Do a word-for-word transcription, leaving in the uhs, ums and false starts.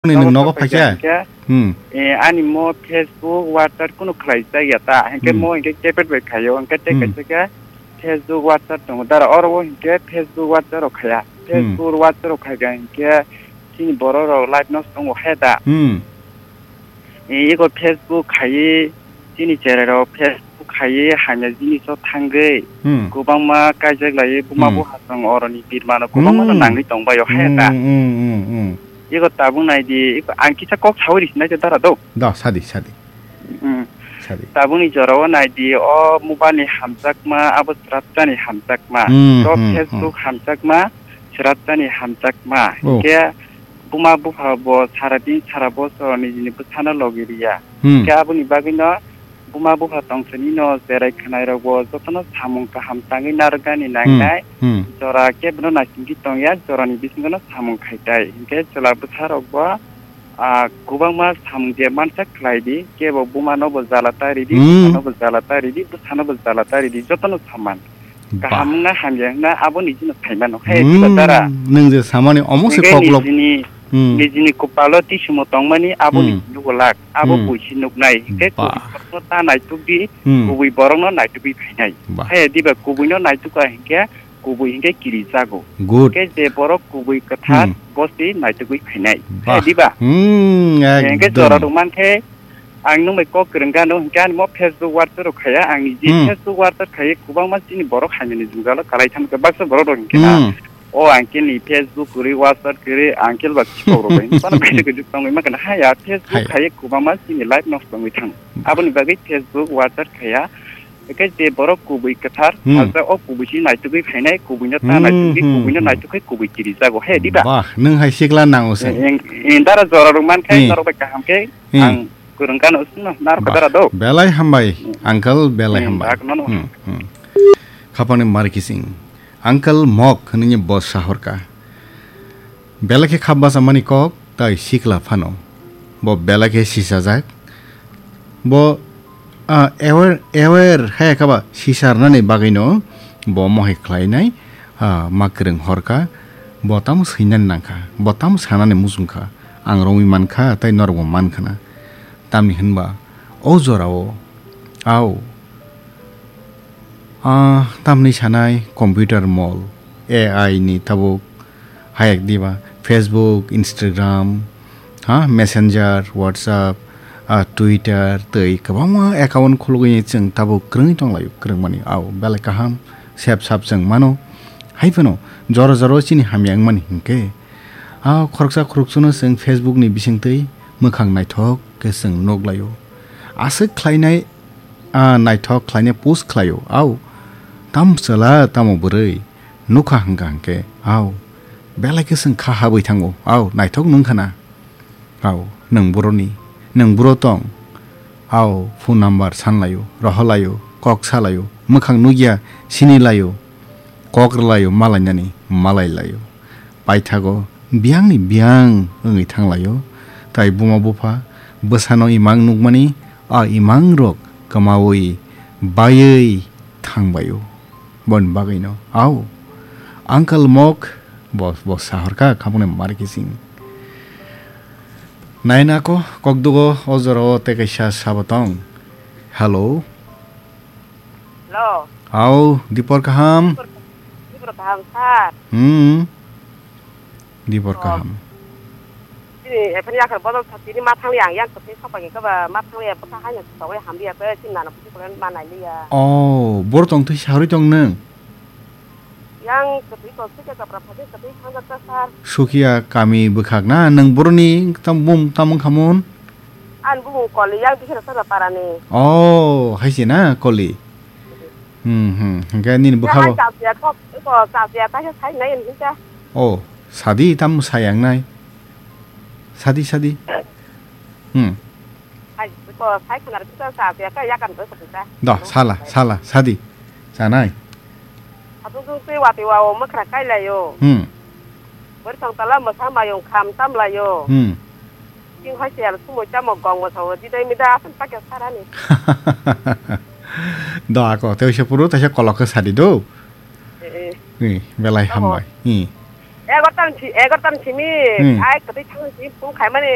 Ni nogo nwng nogo phaikha phaikha? Hinkhe, Hmm. eh, ani mo Facebook, WhatsApp kunu khlai chaya ta. Hinkhe Hmm. mo hinkhe keypad bai khaio. Hinkhe tei Hmm. kaisa khe Facebook, WhatsApp tongo. Dara oro o hinkhe Facebook, WhatsApp rok khaya. Hmm. Facebook, WhatsApp rok khaikha hinkhe chini borok rok live no tongo he da. Hmm. Eh, ego Facebook khaiwi chini cherai rok Facebook khaiwi hamya jiniso thangwi Hmm. kwbangma kaijak laiwi buma Hmm. buha song oroni birmano kwbangma no Hmm. nangwi tongbaio he da. Hmm, hmm, hmm, hmm. Ego tabuk naidi, ego ang kisa kok sawi risi naidi dara do. Da, sadi, sadi. Hmm. Sadi. Tabukni jorao naidi, o mobile ni hamjakma, abo sraptani hamjakma. Hmm, To hmm, Facebook hmm. hamjakma, sraptani hamjakma. Oh. Hinkhe buma bupha bo sara din sara bosor nijini bwsano logi riya. Hmm. Hinkhe aboni bagwino buma bupha tongthani no cherai khwnai rok bo jotono samung kaham tangwi narwknani Hmm. nangnai. Hmm. Jora kebono naisingwi tongya, jorani bisingo no samung khaitai. Hinkhe chwla bwsa rok bo, ah, kwbangma samung je mansa khlai di, kebo buma no bo jala ta ridi, Hmm. bupha no bo jala ta ridi, bwsa no bo jala ta ridi, jotono saman. Bah. Kaham wngna hamya wngna abo nijino sai mano. He, Hmm, diba dara? Nwng je samani omo se Hinkhe koklop. nijini, Hmm. nijini kopalo tisimo tongmani abo Hmm. niji nugo lak, abo Hmm. buisi nuknai. Hinkhe Bah. kubui borokno ta naituk di, Hmm. kubui borokno naitugwi phainai. Bah. He, diba kubuino naituka hinkhe kubui hinkhe kiri jago. Good. Hinkhe je borok kubui kwthar Hmm. bosi naitugwi phainai. Bah. He, diba? Hmm, Hinkhe ekdom. Jora rwmankhe Ang nwng bai kok kwrwng gano, hinkhe ani mo Facebook WhatsApp rok khaya, ang ni je Hmm. Facebook WhatsApp khaiwi kwbangma chini borok hamya ni jwngjalo kalai thangkha, baksa borok rok hinkhe na, Hmm. o uncle ni Facebook kwrwi, WhatsApp kwrwi, uncle ba chikok rok bai, phano video kwrwi tongwi ma kana, haya, Facebook Haya. khaiwi kwbangma chini life nosto wngwi thang. Bah. Aboni bagwi Facebook WhatsApp khaya, hinkhe je borok kubui kwthar, Hmm. salsa o kubui si naitugwi phainai, kubui no ta Hmm, naitugwi, hmm, kubui no hmm. naitugwi, kubui kiri jago, he, diba? Bah, nwng hai sikla nango se. Eng, eng, dara jora rok man khai, Hmm. norok bai kaham khe, Hmm. ang Kwrwng gano sino, narwkha Bah, dara do. Belai hambai, Hmm. uncle, belai Hmm, hambai. Dak nono. Hmm, hmm. Khapangni mar kising. Uncle Mok hwnwi bo sahorka. Belai khe khap bachamani kok, tai sikla phano. Bo belai khe sisajak. Bo, ah, aware, aware hai kha ba sisarnani bagwino bo mohai khlainai, ah, ma kwrwng horka. Bo tamo swinani nangkha, bo tamo sanani muchungkha. Ang romwi mankha, tai norokbo mankhana. Tamni hwnba o jorao, au, ah, tamni sanai computer mall, A I ni tabuk hayek diba, Facebook, Instagram, ha, Messenger, WhatsApp, ah, Twitter, tei kwbangma account khulugwi chwng tabuk kwrwngwi tonglaio, kwrwngmani, au, belai kaham, sep sap chwng mano. Hai phano jora jora chini hamya wngmani hinkhe, ah, khoroksa khoroksa no chwng Facebook ni bisingtwi mwkhang naithok khe chwng nuk laio. Aswk khlainai, ah, naithok khlainai post khlaio. Au, tamo chwla, tamo bwrwi. Nukha hwnkha hwnkhe, au, belai khe chwng kha habwi thango. Au, naithok nungkha na. Au, nwng boroni, nwng boro tong. Au, phone number san laio, rohor laio, kok sa laio, mwkhang nukya, sini laio, kok rw laio, malainani, malai laio. Paithago biyangni biyang wngwi thanglaio. Tai buma bupha bwsano imang nukmani, a imangrok kwmaui baiwi thangbaio. Boni bagwino, au, Uncle Mok, bo, bo sahorka khamuknai mar kising. Naina ko, kokdugo, o jorao tei kaisa sabo tong. Hello. Hello. Au, dipor kaham? Dipor, dipor kaham, sir. Hmm. Dibor Oh. kaham. Chini ephani yakhar bodol sa tini ma thangli ang yang kwthwi sok bai khe ba ma thangli bwkha haino sok bai hamli ya khe chini nana buji kole ma nai li ya. Oh, bor tong twi sarwi tong nung? Yang kwthwi kok sike kapra phajak kwthwi thangjak ta sir. Sukia kami bwkhak na nung boroni tam bum tam wng khamon? An bumung koli yang bihira sala parani. Oh, hai se na koli. Hmm, hmm. Hingke nini bwkha bo. Hai chapya kok, ko chapya ta khe sai nai hinka. Oh, sadi tam sayang nai. Sadi, sadi. Hmm. Hai ko sai khana ta chapya ka yakan ko sa. Da, sala, sala, sadi. Sanai. Atung tung twi wati wa o mwkhra kai lai o. Hmm. Bwrwi thong tala mwsa mayung kham tam lai o. Hmm. King hoi se al sumui tamo gong mo sawo di dai mi da asan pakya sarani. Da ko te se puru te se kolok ke sadi do. Eh, eh. Ni belai Oho. Hambai. Ni. Egarta ni si-, egarta ni simi, Hmm. Ai, kwtwi thangni simi phone khaimani,